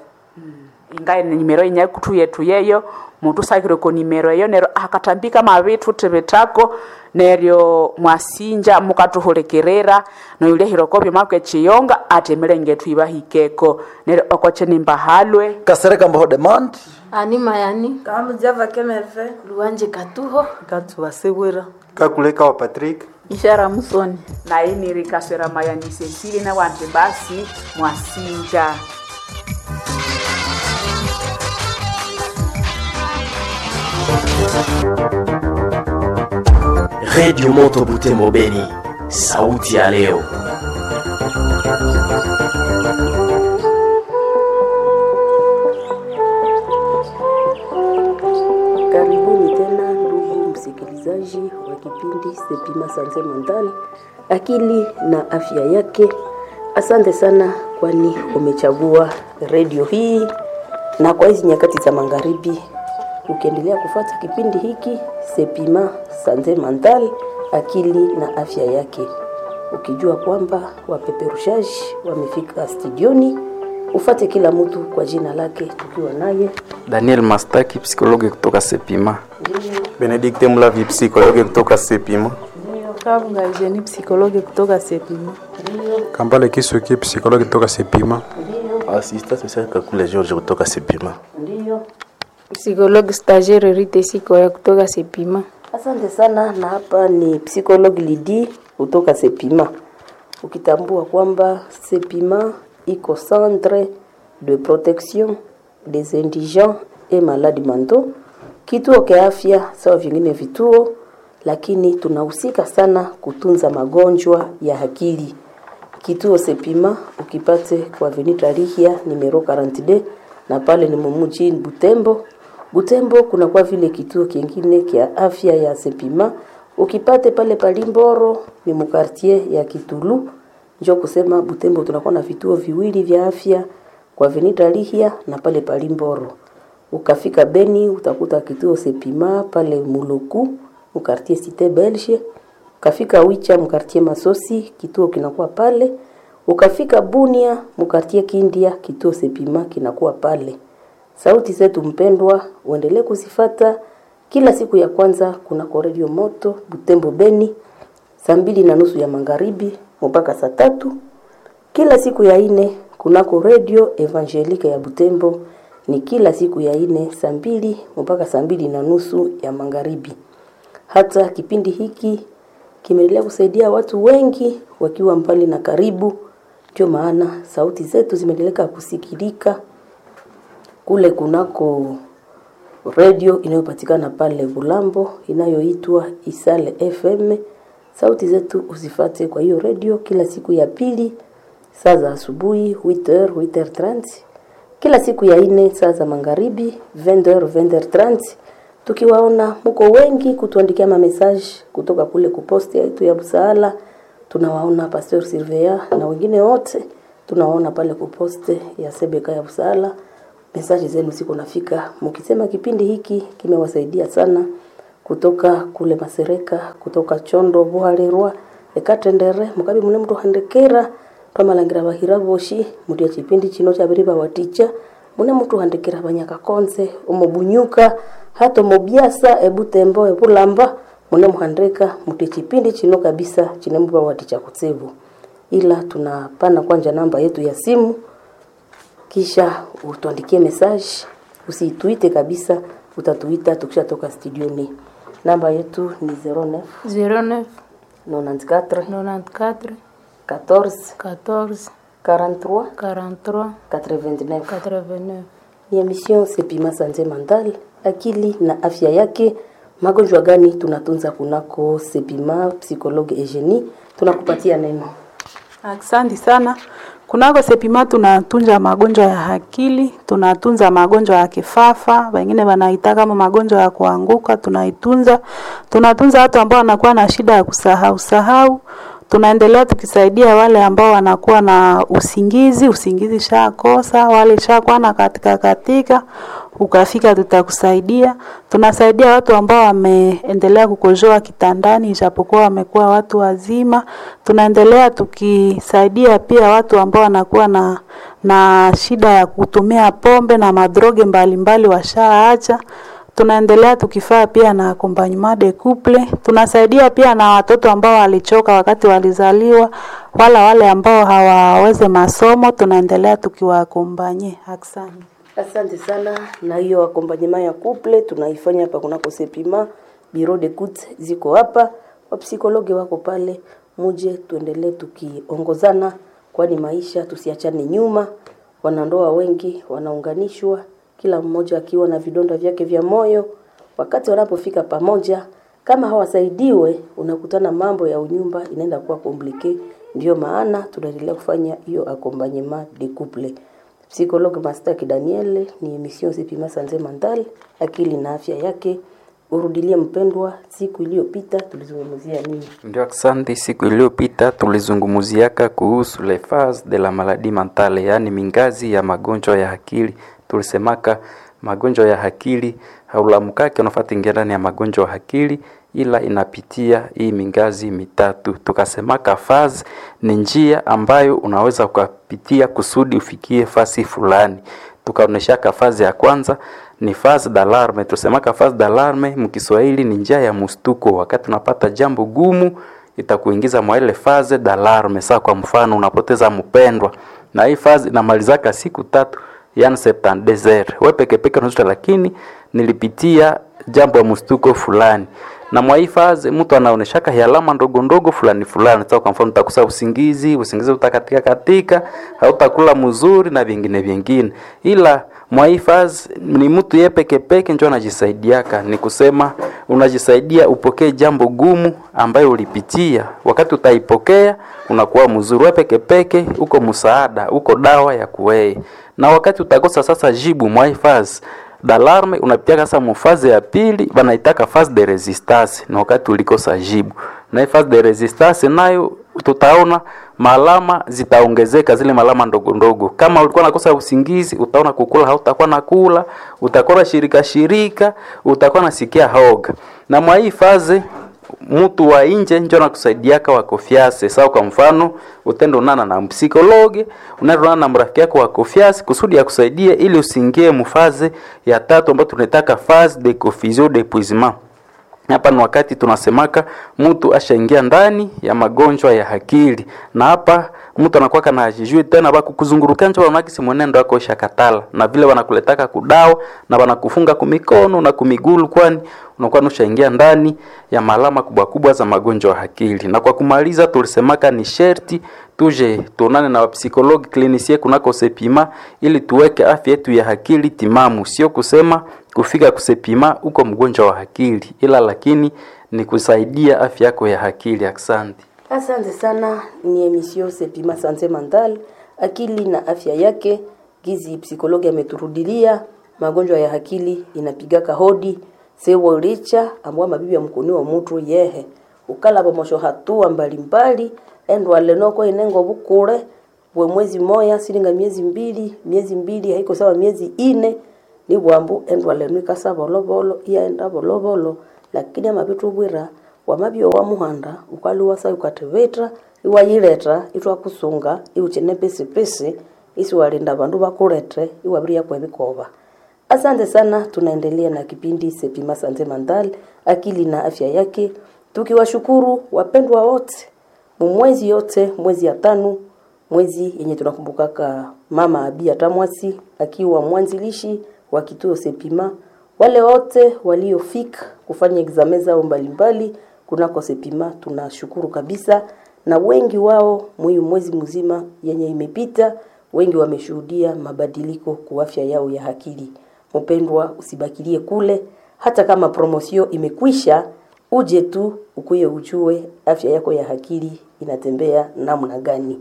inga nimero inyakutu yetu yeyo mutusakire ko nimero eyo nero akatambika mavitu tibitako neryo mwasinja mukatuhulikirira noyulya byoma kwechiyonga ati emilenge yetu ibahikeko neryo okoche nimbahalwe kasereka mbaho demand Ani mayani kamujava kemerve luwanje katuho katubasibwira kakuleka wa Patrick Ishara Musoni. nainiri kaswera mayani Cecily na wanti basi mwasinja Redio Moto Butembo Beni, sauti ya leo. Karibuni tena ndugu msikilizaji wa kipindi Sepima Sanze Mandal, akili na afya yake. Asante sana, kwani umechagua redio hii, na kwa hizi nyakati za magharibi ukiendelea kufuata kipindi hiki Sepima Sanze Mandal, akili na afya yake, ukijua kwamba wapeperushaji wamefika studioni. Ufate kila mtu kwa jina lake, tukiwa naye Daniel Mastaki, psikologe kutoka Sepima. Benedicte Mulavi, psikologe kutoka Sepima. Kabunga Eugenie psikologe kutoka Sepima. Kambale Kisuki, psikologe kutoka Sepima. Assistant social Kakule George kutoka Sepima. Ndiyo. Psychologue stagiaire Rite Sikoya kutoka Sepima. Asante sana, na hapa ni psychologue Lidi kutoka Sepima. Ukitambua kwamba Sepima iko centre de protection des indigents et malades mentaux, kituo kia afya sawa vingine vituo, lakini tunahusika sana kutunza magonjwa ya akili. Kituo Sepima ukipate kwa Avenue Tarihia numero quarante-deux na pale ni mumuji Butembo. Butembo kuna kwa vile kituo kingine kia afya ya Sepima ukipate pale Palimboro ni mukartier ya Kitulu. Njo kusema Butembo tunakuwa na vituo viwili vya afya kwa Avenue Tarihia na pale Palimboro. Ukafika Beni utakuta kituo Sepima pale Muluku mukartier Cité Belge. Ukafika Wicha mkartie Masosi kituo kinakuwa pale. Ukafika Bunia mkartie Kindia kituo Sepima kinakuwa pale. Sauti zetu mpendwa, uendelee kuzifata kila siku ya kwanza kunako Radio Moto Butembo Beni, saa mbili na nusu ya magharibi mpaka saa tatu. Kila siku ya ine kunako Radio Evangelique ya Butembo ni kila siku ya ine saa mbili mpaka saa mbili na nusu ya magharibi. Hata kipindi hiki kimeendelea kusaidia watu wengi wakiwa mbali na karibu. Ndio maana sauti zetu zimeendelea kusikilika kule kunako redio inayopatikana pale Bulambo inayoitwa Isale F M. Sauti zetu usifate kwa hiyo redio kila siku ya pili saa za asubuhi huit heures, huit heures trente, kila siku ya ine saa za magharibi vingt heures, vingt heures trente. Tukiwaona mko wengi kutuandikia ma message kutoka kule kuposti yetu ya Busaala, tunawaona Pasteur Surveillant na wengine wote tunawaona pale kuposte ya Sebeka ya Busaala. Mesaji zenu ziko nafika mkisema kipindi hiki kimewasaidia sana, kutoka kule Masereka, kutoka Chondo, Buhalerwa, Ekatendere, mukabi mune mndu handikira twamalangira bahira boshi mutia chipindi chino chabiri bawaticha mune mtu handikira banyakakonze omobunyuka hata omobyasa ebutembo ebulamba mune muhandika mutia chipindi chino kabisa chine mubawaticha kutsibu. Ila tunapana kwanja namba yetu ya simu kisha utuandikie message, usituite kabisa, utatuita tukishatoka studioni. Namba yetu ni zéro neuf zéro neuf quatre-vingt-quatorze quatre-vingt-quatorze quatorze quarante-trois quarante-trois quatre-vingt-neuf. quatre-vingt-neuf. Ni emission Sepima Santé Mentale, akili na afya yake. Magonjwa gani tunatunza kunako Sepima? Psychologue Eugenie, tunakupatia neno. Asante sana. Kunako Sepima tunatunza magonjwa ya akili, tunatunza magonjwa ya kifafa, wengine wanaita kama magonjwa ya kuanguka, tunaitunza. Tunatunza watu ambao wanakuwa na shida ya kusahau sahau. Tunaendelea tukisaidia wale ambao wanakuwa na usingizi, usingizi shakosa, wale shakuwa na katika katika, ukafika tutakusaidia. Tunasaidia watu ambao wameendelea kukojoa kitandani ijapokuwa wamekuwa watu wazima. Tunaendelea tukisaidia pia watu ambao wanakuwa na na shida ya kutumia pombe na madroge mbalimbali washaacha. Tunaendelea tukifaa pia na accompagnement de couple. Tunasaidia pia na watoto ambao walichoka wakati walizaliwa, wala wale ambao hawaweze masomo, tunaendelea tukiwaakompanye. Asante. Asante sana. Na hiyo accompagnement ya couple tunaifanya hapa kunako Sepima, bureau d'écoute ziko hapa, wapsikologe wako pale, muje tuendelee tukiongozana, kwani maisha tusiachane nyuma. Wanandoa wengi wanaunganishwa, kila mmoja akiwa na vidonda vyake vya moyo. Wakati wanapofika pamoja, kama hawasaidiwe, unakutana mambo ya unyumba inaenda kuwa komplike. Ndio maana tunaendelea kufanya hiyo accompagnement de couple. Psychologue Mastaki Daniel, ni emission Sepima Santé Mentale, akili na afya yake. Urudilie mpendwa, siku iliyopita tulizungumzia nini? Ndio, asante. Siku iliyopita tulizungumziaka kuhusu les phases de la maladie mentale, yaani mingazi ya magonjwa ya akili. Tulisemaka magonjwa ya akili haulamkake unafuata ingia ndani ya magonjwa ya akili, ila inapitia hii mingazi mitatu. Tukasemaka phase ni njia ambayo unaweza ukapitia kusudi ufikie fasi fulani. Tukaoneshaka fazi ya kwanza ni phase d'alarme. Tusemaka phase d'alarme mkiswahili ni njia ya mstuko. Wakati unapata jambo gumu itakuingiza mwa ile phase d'alarme. Saa kwa mfano unapoteza mpendwa, Na hii phase inamalizaka siku tatu, yani septante-deux heures. We peke peke unajuta, lakini nilipitia jambo ya mstuko fulani. Na mwa hii phase mtu anaoneshaka alama ndogo ndogo fulani fulani. Sasa kwa mfano utakosa usingizi, usingizi utakatika katika, hautakula mzuri na vingine vingine. Ila mwa hii phase ni mtu ye peke peke ndio anajisaidiaka, ni kusema unajisaidia upokee jambo gumu ambayo ulipitia. Wakati utaipokea unakuwa mzuri wewe peke peke, uko msaada, uko dawa ya kuwei. Na wakati utakosa sasa jibu mwa hii phase d'alarme, unapitia sasa mu phase ya pili, wanaitaka phase de resistance, na wakati ulikosa jibu. Na hii phase de resistance nayo tutaona malama zitaongezeka, zile malama ndogo ndogo. Kama ulikuwa nakosa usingizi, utaona kukula hautakuwa nakula, utakuwa na shirika shirika, utakuwa nasikia hoga. Na mwa hii phase mtu wa nje njo anakusaidiaka wa confiance. Sawa, kwa mfano utendo unana na psychologue, unaenda na mrafiki yako wa confiance kusudi akusaidie ili usiingie mu phase ya tatu ambayo tunaitaka phase de confusion d'épuisement. Hapa ni wakati tunasemaka mtu ashaingia ndani ya magonjwa ya akili, na hapa mtu anakuwa kana hajijui tena, bakukuzunguruka njo wanakisi mwenendo wako ushakatala, na vile wanakuletaka kudawa na wanakufunga kumikono na kumigulu, kwani unakuwa ushaingia ndani ya malama kubwa kubwa za magonjwa ya akili. Na kwa kumaliza, tulisemaka ni sherti tuje tuonane na wapsychologue clinicien kunako Sepima ili tuweke afya yetu ya akili timamu, sio kusema kufika kusepima uko mgonjwa wa akili, ila lakini ni kusaidia afya yako ya akili. Asante. Asante sana. Ni emission Sepima Sante Mental, akili na afya yake. Gizi psikologi ameturudilia magonjwa ya akili inapigaka hodi sewolicha ambwa mabibi ya mkuni wa mutu yehe ukala bomosho hatua mbalimbali endwale noko inengo bukure bwe mwezi moya silinga miezi mbili miezi mbili haiko sawa miezi ine ni bwambu endwale nwikasa bolobolo iyaenda bolobolo lakini amabitu bwira wamabio wa muhanda ukaliwasa ukatibitra iwayileta itwakusunga iuchine pisipisi isiwalinda bandu bakulete iwabiria kwebikoba. Asante sana, tunaendelea na kipindi Sepima Sante Mental, akili na afya yake, tukiwashukuru wapendwa wote mumwezi yote, mwezi ya tano, mwezi yenye tunakumbukaka mama Abia Tamwasi akiwa mwanzilishi wa kituo Sepima, wale wote waliofika kufanya examen zao mbalimbali kunako Sepima, tunashukuru kabisa, na wengi wao mwiyu mwezi mzima yenye imepita, wengi wameshuhudia mabadiliko kwa afya yao ya akili. Mpendwa, usibakilie kule, hata kama promosio imekwisha, uje tu ukuye ujue afya yako ya akili inatembea namna gani.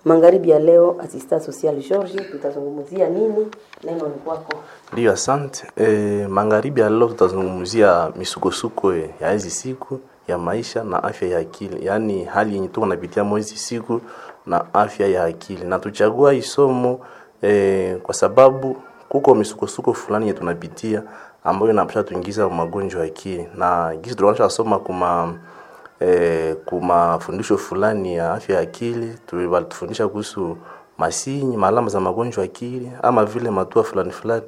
Magharibi ya leo, asista social George, tutazungumzia nini? Neno ni kwako. Ndiyo, asante. E, magharibi ya leo tutazungumzia misukosuko ya hizi siku ya maisha na afya ya akili, yaani hali yenye tuko napitia mwezi siku na afya ya akili, na tuchagua isomo e, kwa sababu kuko misukosuko fulani yenye tunapitia ambayo inapasha tuingiza magonjwa ya akili, na gisi tulikuwa soma kuma eh, kuma fundisho fulani ya afya ya akili walitufundisha kuhusu masinyi maalama za magonjwa ya akili ama vile matua fulani fulani.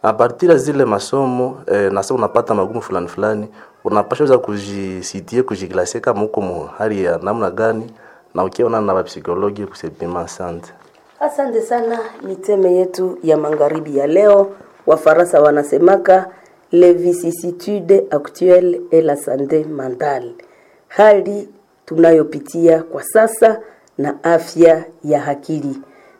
A partir ya zile masomo eh, na sasa unapata magumu fulani fulani, unapasha weza kujisitie kujiklasie kama uko mu hali ya namna gani, na ukiona na psikologi kusepima. Asante. Asante sana. Ni teme yetu ya magharibi ya leo. Wafaransa wanasemaka les vicissitudes actuelles et la santé mentale, hali tunayopitia kwa sasa na afya ya akili.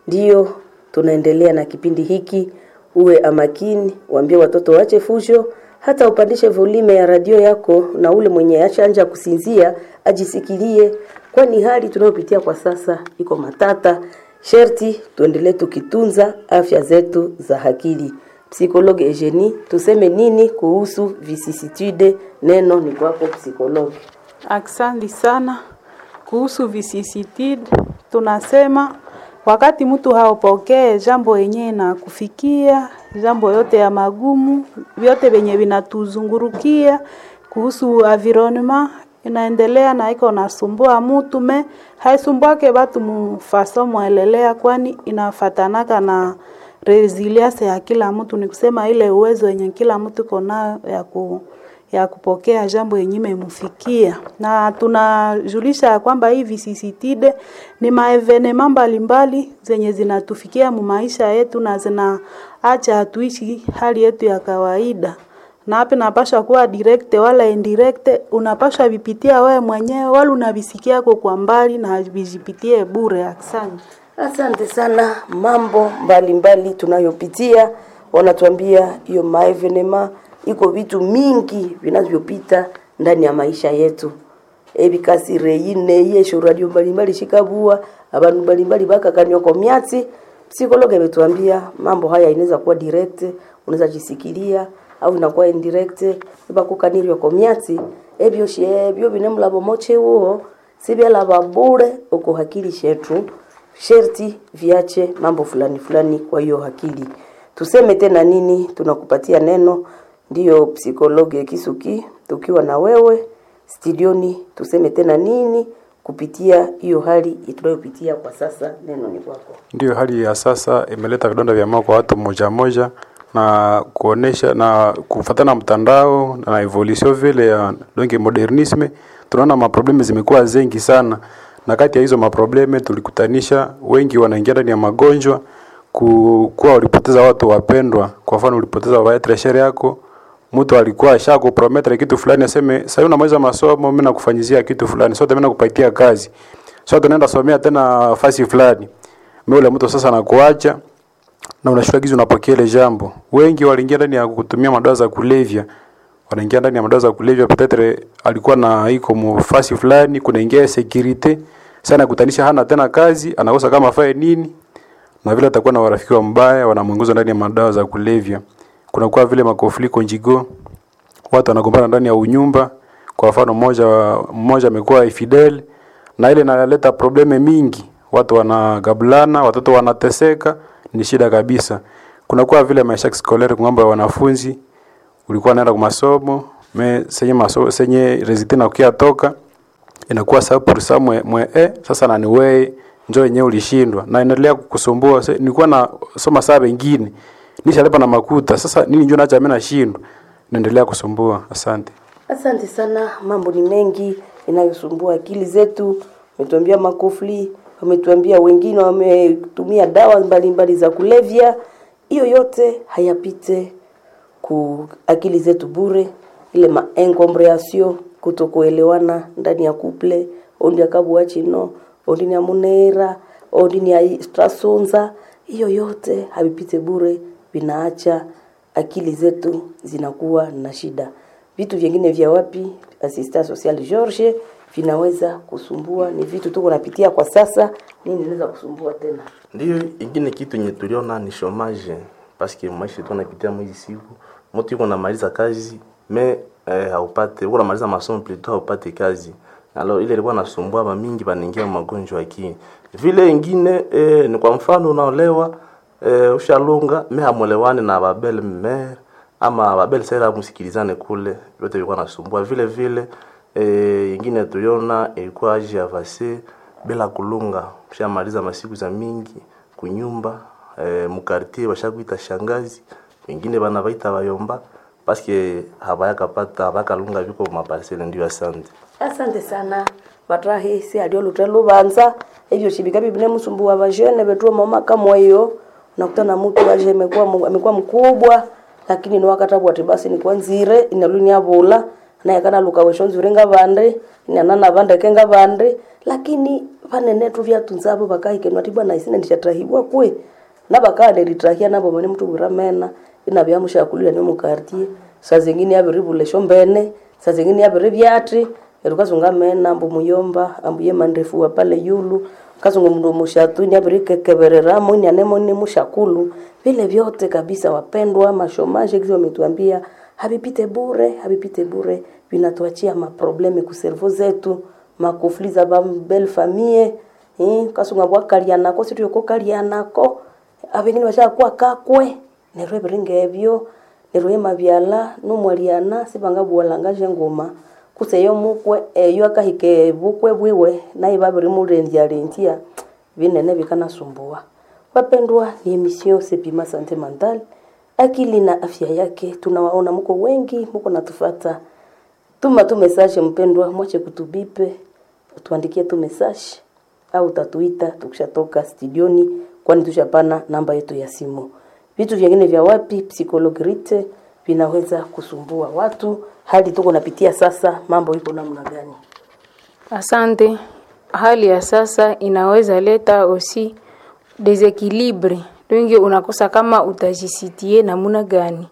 Ndiyo tunaendelea na kipindi hiki. Uwe amakini, waambie watoto wache fujo, hata upandishe volume ya radio yako, na ule mwenye ashanja kusinzia ajisikilie, kwani hali tunayopitia kwa sasa iko matata. Sherti tuendelee tukitunza afya zetu za akili. Psikologe Eugenie, tuseme nini kuhusu vicissitude? Neno ni kwako psikologe. Aksanti sana. Kuhusu vicissitude, tunasema wakati mtu haupokee jambo yenyewe na kufikia jambo yote ya magumu, vyote vyenye vinatuzungurukia kuhusu environment inaendelea na iko nasumbua mutu me haisumbuake batu mufaso mwelelea, kwani inafatanaka na resilience ya kila mtu, ni kusema ile uwezo yenye kila mtu iko nayo ya ku ya kupokea jambo yenye imemufikia, na tunajulisha ya kwamba hii visisitide ni maevenema mbalimbali zenye zinatufikia mu maisha yetu na zinaacha hatuishi hali yetu ya kawaida na hapa inapasha kuwa direct wala indirect, unapasha vipitia wewe mwenyewe wala unavisikiako kwa mbali na vijipitie bure. Asante. Asante sana. Mambo mbalimbali tunayopitia, wanatuambia hiyo maevenema iko vitu mingi vinavyopita ndani ya maisha yetu ebikasire yine yesho radio mbalimbali shikabua abantu mbalimbali bakakanywa myatsi. Psikologe ametuambia mambo haya inaweza kuwa direct, unaweza jisikilia au inakuwa indirect ibakukanirwa kwa myatsi ebyo shebyo binemulabo moche uo sibyalaba bure uko hakili shetu sherti viache mambo fulani fulani. Kwa hiyo hakili tuseme tena nini? Tunakupatia neno ndiyo psikologe Kisuki, tukiwa na wewe studioni, tuseme tena nini kupitia hiyo hali tunayopitia kwa sasa? Neno ni kwako. Ndiyo, hali ya sasa imeleta vidonda vya moyo kwa watu moja moja na kuonesha na kufatana na mtandao na evolution vile ya donc modernisme, tunaona maprobleme zimekuwa zengi sana, na kati ya hizo maprobleme tulikutanisha wengi wanaingia ndani ya magonjwa ku- kuwa ulipoteza watu wapendwa. Kwa mfano ulipoteza baba treshere yako, mtu alikuwa ashakuprometre kitu fulani, aseme sasa unamaliza masomo, mimi nakufanyizia kitu fulani, sote mimi nakupatia kazi, sote tunaenda somea tena fasi fulani, mimi ule mtu sasa nakuacha na unashuka gizi unapokea ile jambo. Wengi waliingia ndani ya kutumia madawa za kulevya, wanaingia ndani ya madawa za kulevya, petetre alikuwa na iko mufasi fulani, kunaingia security sana, kutanisha hana tena kazi, anakosa kama afae nini, na vile atakuwa na warafiki wa mbaya wanamuingiza ndani ya madawa za kulevya. Kunakuwa vile makofliko njigo, watu wanagombana ndani ya unyumba. Kwa mfano mmoja mmoja amekuwa infidel, na ile inaleta probleme mingi, watu wanagablana, watoto wanateseka, ni shida kabisa. Kunakuwa vile maisha scolaire kwa mambo ya wanafunzi, ulikuwa naenda kwa masomo me senye masomo senye resultat na kukia toka inakuwa sababu pour ça mwe, mwe eh, sasa na ni wewe njoo yenyewe ulishindwa na inaendelea kukusumbua. Se- Nilikuwa na soma saa wengine nishalipa na makuta, sasa nini njoo naacha mimi nashindwa, naendelea kusumbua. Asante. Asante sana. Mambo ni mengi inayosumbua akili zetu. Wametuambia makofli, wametuambia wengine wametumia dawa mbalimbali za kulevya. Hiyo yote hayapite ku akili zetu bure, ile ma incomprehension, kutokuelewana ndani ya couple, ondi akabuwa chino ondi ni amunera ondi ni strasunza. Hiyo yote havipite bure, vinaacha akili zetu zinakuwa na shida. Vitu vingine vya wapi assistant social George vinaweza kusumbua, ni vitu tuko napitia kwa sasa. Nini inaweza kusumbua tena? Ndiyo, ingine kitu yenye tuliona ni chômage paske maisha tunapitia mwezi siku mtu yuko namaliza kazi me eh, haupate uko namaliza masomo plutôt haupate kazi alors ile ilikuwa nasumbua ba mingi banaingia magonjwa ya akili vile ingine eh, ni kwa mfano unaolewa eh, ushalunga me hamwelewani na babele mère ama babele sera msikilizane kule yote ilikuwa nasumbua vile vile eh, ingine tuliona ilikuwa age avancée bila kulunga ushamaliza masiku za mingi kunyumba eh, mukartier bashakuita shangazi wengine bana baita bayomba paske habayakapata habakalunga viko maparcele ndio asante Asante sana vatrahi si alio lute lubanza evyo shibika bibine musumbu wa vajene vetuo mama kama hiyo unakutana mtu aje amekuwa amekuwa mkubwa lakini ni wakati ati basi ni kwanzire inaluni abula naye kana luka wesho nzure ngavande inanana vande kenga vande lakini vanene tu vyatunza abo bakaikenwa ati bwana isine ndishatrahibwa kwe nabakaaneritrahia nabo bane mtu buramena inabyamushakulira ni mukartie saa zingine yabiribula eshombene saa zingine yabiri byati erukazunga mena ambu muyomba ambu ye mandefu wa pale yulu kazungu mndu mushatu ni abirikekebereramo ni anemo ni mushakulu vile vyote kabisa wapendwa mashomashe kizi wametuambia havipite bure havipite bure vinatuachia maprobleme kuservo zetu makufli za ba belle famille eh kasunga bwakalianako situyokokalianako abengine bashakuwa kakwe neryo ebiringa ebyo neryo emabyala numwaliana sibangabuwalanga ngoma kutse eyo mukwe eyo akahika ebukwe bwiwe naye babirimulendyalendya binene bikanasumbua wapendwa ni emission Sepima Sante Mental akili na afya yake tunawaona muko wengi muko natufata Tuma tu message mpendwa, mwache kutubipe, utuandikie tu message au utatuita tukishatoka studioni, kwani tushapana namba yetu ya simu. Vitu vingine vya wapi psychologue Rite vinaweza kusumbua watu, hali tuko napitia sasa, mambo iko namna gani? Asante. Hali ya sasa inaweza leta aussi desequilibre donge unakosa kama utajisitie namuna gani,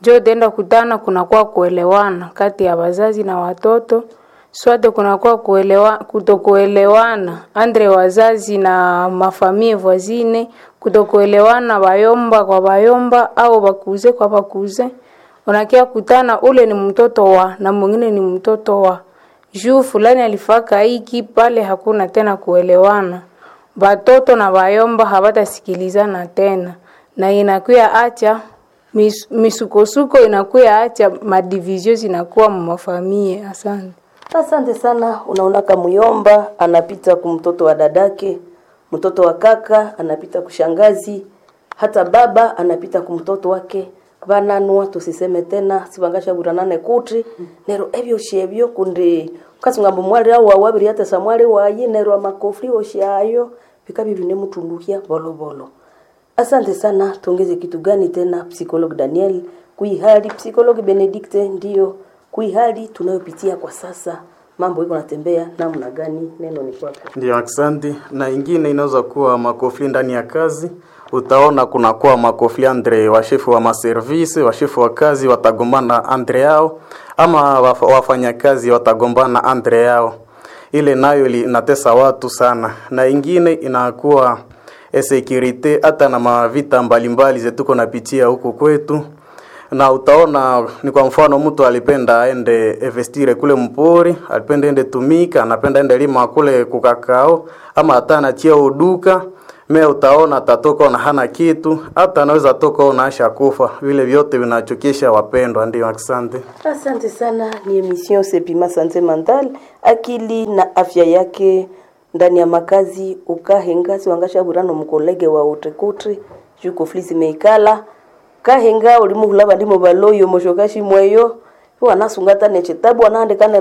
njo utaenda kutana, kunakuwa kuelewana kati ya wazazi na watoto swate, kunakuwa kuelewa, kutokuelewana andre wazazi na mafamie voisine, kutokuelewana bayomba kwa bayomba au bakuze kwa bakuze. Unakia kutana ule ni mtoto wa na mwingine ni mtoto wa juu fulani alifaka hiki pale, hakuna tena kuelewana. Batoto na bayomba habatasikilizana tena, na inakuya acha mis, misukosuko inakuya acha madivizio zinakuwa mumafamie. Asante. Asante sana. Unaona kamuyomba anapita kumtoto wa dadake, mtoto wa kaka anapita kushangazi, hata baba anapita kumtoto wake vananwa tusiseme tena sivangashavuranane kuti nero ebyo shebyo kundi kasungambo mwali au wawabiri hata samwali wayi nero amakofri oshayo vikabi vinemutundukia bolobolo. Asante sana. Tuongeze kitu gani tena, psychologue Daniel kuihali, psychologue Benedicte ndiyo kuihali tunayopitia kwa sasa, mambo iko natembea namna gani? Neno ni kwako. Ndio, asante. Na ingine inaweza kuwa makofli ndani ya kazi. Utaona kunakuwa makofli andre washefu wa maservisi, washefu wa kazi watagombana andre yao, ama waf- wafanyakazi watagombana andre yao. Ile nayo ili- inatesa watu sana, na ingine inakuwa security, hata na mavita mbalimbali zetuko napitia huku kwetu na utaona ni kwa mfano mtu alipenda aende investire kule mpori, alipenda ende tumika, anapenda ende lima kule kukakao, ama hata anatia uduka me utaona atatoka na hana kitu, hata anaweza toka na asha kufa. Vile vyote vinachokesha wapendwa. Ndio, asante. Asante sana. Ni emission Sepima Sante Mental, akili na afya yake ndani ya makazi ukahenga siwangashaburano mkolege wa utekutri juko flisi meikala kahenga ulimuhula bandimo baloyo moshokashi mweyo wanasungata nechitabu wanaandikana